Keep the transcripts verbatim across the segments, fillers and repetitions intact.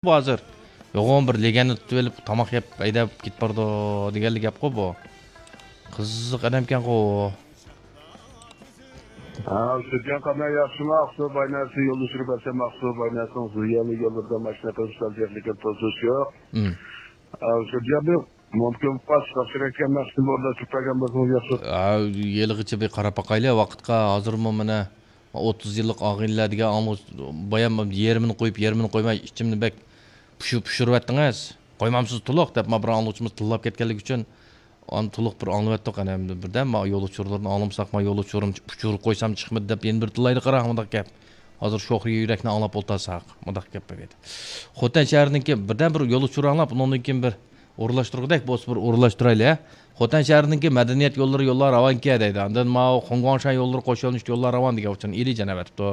بۇ ھازىر. يوغان بىر لېگەندا تۇتۇۋېلىپ، تاماق يەپ، ھەيدەپ كېتىپ بارىدۇ دېگەنلا گەپقۇ بۇ. قىزىق ئادەمكەنغۇ. ھە، سۈتيان قانداق، ياخشىمۇ؟ ئاقسۇ بايناسى يولدا سۈرۈپ بەرسەم، ئاقسۇ بايناسىنىڭ زىيانلىق يوللىرىدا ماشىنا قىلىپ سالجاقلىكىن توسۇش يوق. ئىم. ھە، سۈتيان، مۇمكىن بولسا ساقچىلارغا مەخسۇس ئورۇنلاشتۇرۇپ بەرگەن بولسىڭىز ياخشى. ھە، ھېلىغىچە بىر قاراپ باقايلى ۋاقىتقا. ھازىرمۇ مانا ئوتتۇز يىللىق ئاغىنىلەر دېگەن ئاڭلىغۇچ بايام يېرىمىنى قويۇپ، يېرىمىنى قويماي، ئىچىمنى بەك پۇشۇ-، پۇشۇرۇۋەتتىڭىز. قويمامسىز تولۇق دەپ، ما بىر ئاڭلىغۇچىمىز تىللاپ كەتكەنلىكى ئۈچۈن، ئانا تولۇق بىر ئاڭلىۋەتتۇق. ئەنە ئەمدى بىردەم ما يول ئۇچۇرلىرىنى ئاڭلىمىساق، ما يول ئۇچۇرىنى ئۇچۇر قويسام چىقمىدى دەپ يەنە بىر تىللايدۇ قاراڭ، مۇنداق گەپ. ھازىر شوخ يۈرەكنى ئاڭلاپ ئولتۇرساق، مۇنداق گەپ بولىدۇ. خوتەن شەھىرىنىڭكى بىردەم بىر يول ئۇچۇرى ئاڭلاپ، ئۇنىڭدىن كېيىن بىر ئورۇنلاشتۇرغۇدەك بولسا بىر ئورۇنلاشتۇرايلى، ھە؟ خوتەن شەھىرىنىڭكى مەدەنىيەت يوللىرى يوللار راۋانكەن دەيدۇ. ئاندىن ماۋۇ خۇڭگۇاڭشەن يوللىرى قوش يۆنىلىشلىك يوللار راۋان دېگەن ئۇچۇرنى ئېلى جان ئەۋەتىپتۇ.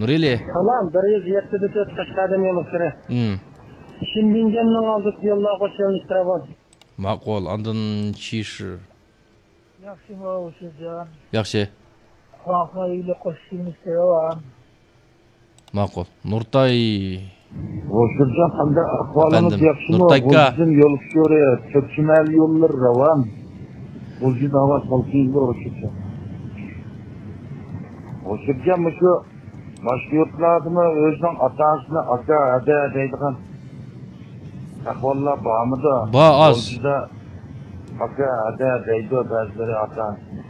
نۇرئېلى. سالام، بىر يۈز يەتتە دە تۆت قەشقەردىن يولۇقتۇرى. ھىم. شىنبىڭجيەننىڭ ئالدىدىكى يوللار قوش يۆنىلىشلىك راۋان. ماقۇل، ئاندىن شىش. ياخشىمۇ، ھوشۇرجان؟ ياخشى. خۇاڭخې ئىلى قوش يۆنىلىشلىك راۋان. ماقۇل. نۇرتاي. ھوشۇرجان، قانداق ئەھۋالىڭىز؟ ئەپەندىم، ياخشىمۇ؟ نۇرتاي ئاكا. غۇلجىدىن يول ئۇچۇرى، تۈركچىمەل يوللىرى راۋان. غۇلجىدا ھاۋا سالقىن بولۇشىچە. ھوشۇرجان، مۇشۇ باشقا يۇرتلاردىمۇ ئۆزىنىڭ ئاتا-ئانىسىنى ئاكا، ھەدە دەيدىغان ئەھۋاللار بارمىدۇ؟ بار، ئاز. غۇلجىدا ئاكا، ھەدە دەيدۇ بەزىلىرى ئاتا-ئانىسىنى.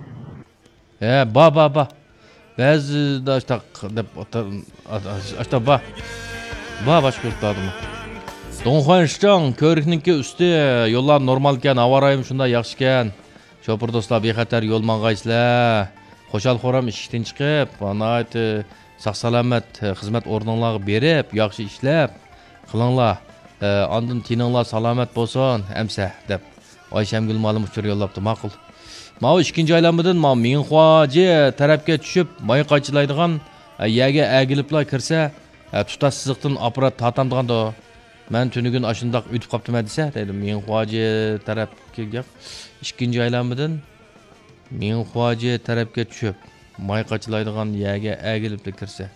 ھە، بار، بار، بار. بەزىدە ئاشتاق دەپ ئاتا-، ئاشتاق بار. بار باشقا يۇرتلاردىمۇ. دۇڭخۇەن شىچاڭ، كۆۋرۈكنىڭكى ئۈستى، يوللار نورمالكەن، ھاۋا رايىمۇ شۇنداق ياخشىكەن. شوپۇر دوستلار، بىخەتەر يول ماڭغايسىلەر. خۇشال-خۇرام ئىشىكتىن چىقىپ، ناھايىتى ساق-سالامەت خىزمەت ئورنۇڭلارغا بېرىپ، ياخشى ئىشلەپ قىلىڭلار. ئە، ئاندىن تېنىڭلار سالامەت بولسۇن، ئەمسە، دەپ ئايشەمگۈل مالىم ئۇچۇر يوللاپتۇ. ماقۇل. ماۋۇ ئىككىنچى ئايلانمىدىن ماۋۇ مىڭخۇاجى تەرەپكە چۈشۈپ، ماي قاچىلايدىغان، ئە، يەرگە ئەگىلىپلا كىرسە، ئە، تۇتاش سىزىقتىن ئاپپارات تارتامدىغاندۇ. مەن تۈنۈگۈن ئاشۇنداق ئۆتۈپ قاپتىمەن دېسە، دەيدۇ. مىڭخۇاجى تەرەپكە گەپ. ئىككىنچى ئايلانمىدىن مىڭخۇاجى تەرەپكە چۈشۈپ، ماي قاچىلايدىغان يەرگە ئەگىلىپلا كىرسە،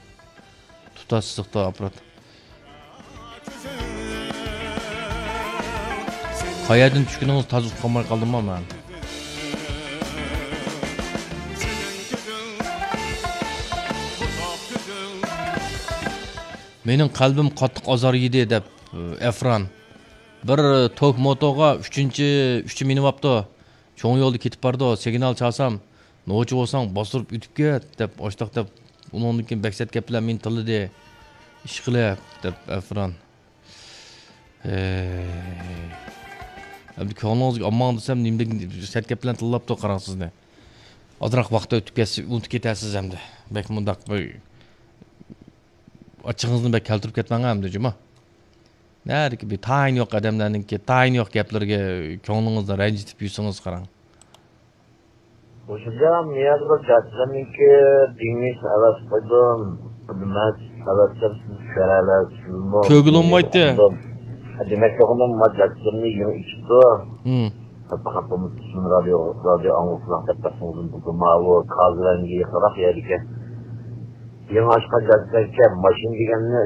تۇتاش سىزىقتا ئاپپارات. قەيەردىن چۈشكىنىڭىز تازا ئۇقالماي قالدىممۇ مەن؟ مېنىڭ قەلبىم قاتتىق ئازار يېدى، دەپ، ئەفران. بىر توك موتوغا ئۈچىنچى، ئۈچى مىنىۋاپتۇ. چوڭ يولدا كېتىپ بارىدۇ، سىگنال چالسام، نوچى بولساڭ باستۇرۇپ ئۆتۈپ كەت، دەپ، ئاشتاق دەپ، ئۇنىڭدىن كېيىن بەك سەت گەپ بىلەن مېنى تىللىدى. ئىشقىلىپ، دەپ، ئەفران. ھەي. ئەمدى كۆڭلىڭىزگە ئالماڭ دېسەم، نېمىدەك سەت گەپ بىلەن تىللاپتۇ قاراڭ سىزنى. ئازراق ۋاقىت ئۆتۈپ كەتسە، ئۇنتۇپ كېتەرسىز ئەمدى. بەك مۇنداق بىر ئاچچىقىڭىزنى بەك كەلتۈرۈپ كەتمەڭ ئەمدى، جۇمۇ. نەدىكى بىر تايىنى يوق ئادەملەرنىڭكى تايىنى يوق گەپلىرىگە كۆڭلىڭىزنى رەنجىتىپ يۈرسىڭىز قاراڭ. مۇشۇنچە مىيەدە بىر جاچىلارنىڭكى دېڭىز ئەۋەتىپ قويدۇم. نېمە ئەۋەتسەم سىز كۆرەلەرسىزمۇ؟ كۆرگىلى بولمايتتى. دېمەكچى بولغىنىم، ما جاچىلىرىنى يېڭى ئېچىپتۇ. ھىم. پەقەت بۇ رادىيو، رادىيو ئاڭلىسىلا دەپ بەرسىڭىزمۇ بولىدۇ. ماۋۇ كازىۋەنگە يېقىنراق يەردىكى. يېڭى ئاچقان جاچىلاركەن، ماشىنا دېگەننى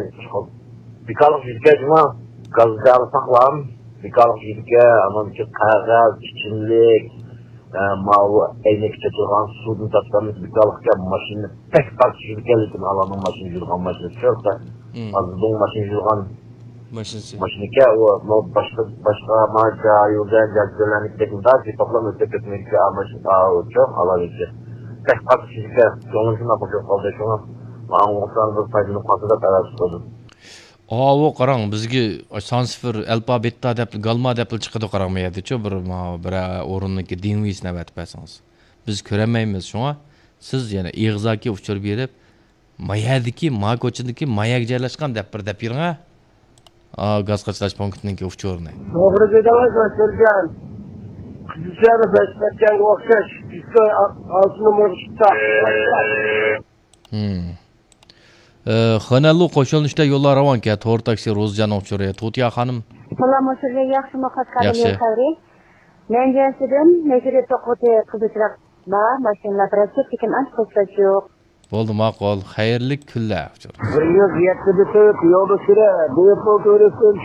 بىكارلىق يۈزىكەن جۇما. گازدا ساقلام. بىكارلىق يۈزىكەن، ئانىڭدىكى قەغەز، ئىچىملىك، ئە، ماۋۇ ئەينەككە چاچىلغان سۇدىن تارتقان بىكارلىقكەن، ماشىنا بەك پاك يۈرىدىكەن، لېكىن ئالارنىڭ ماشىنا يۈرىدىغان ماشىنىسى يوق. مم. ھازىر بۇ ماشىنا يۈرىدىغان ماشىنىسى. ماشىنىكەن، ئۇ، ماۋۇ باشقا، باشقا، ما، جايۇدەن، جاجىدەنلەرنىڭكىدەك مۇنداق جىپاقلار ئۆتۈپ كەتمەيدىكەن، ئا، ماشىنا، ئا، ئۇ چوڭ، ئالار ئىكەن. بەك پاك يۈرىدىكەن، كۆڭلۈم شۇنداق خۇشال قالدى، شۇڭا ماڭا ئوڭشالغان بىر پايدىلىنىپ قالسا دەپ ھەۋەس قىلدىم. ئاۋۇ قاراڭ، بىزگە سان سىفىر، ئەلپا، بېتا دەپ، گالما دەپلا چىقىدۇ قاراڭ، مۇ يەردىچۇ، بىر، ما، بىر ئورۇننىڭكى دىڭۋېيسىنى ئەۋەتىپ بەرسىڭىز. بىز كۆرەلمەيمىز، شۇڭا سىز يەنە ئېغىزاكى ئۇچۇر بېرىپ، ما يەردىكى، ما كوچىدىكى، ما يەرگە جايلاشقان دەپ بىر دەپ بېرىڭ، ھە. ئا، گاز قاچىلاش پونكىتىنىڭكى ئۇچۇرىنى. توغرا دېدىڭىز، ئۆتكۈزگەن. قىزىچەنى بەش ئۆتكەنگە ئوخشاش، ئىككى ئالتە نومۇرغا چىقتى. ھىم. ئى، خېنەنلۇ قوشۇلۇشتا يوللار راۋانكەن، تور تاكسى روزىجاننىڭ ئۇچۇرى. تۇتىيا خانىم. سالام، ئۇچۇرى ياخشىمۇ، قەشقەردىن ياخشى. يول خەۋىرى. مەنجەنسىدىن نەشرىيات توققۇزى قىزىل چىراغ بار، ماشىنىلار بىرەر چەت، لېكىن ئانچە پۇرسەت يوق. بولدى، ماقۇل. خەيرلىك كۈنلەر ئۇچۇر. بىر يۈز يەتتە بىتىپ يولدا سۈرە، بىيىپ بولدى ئۆرۈسۈم.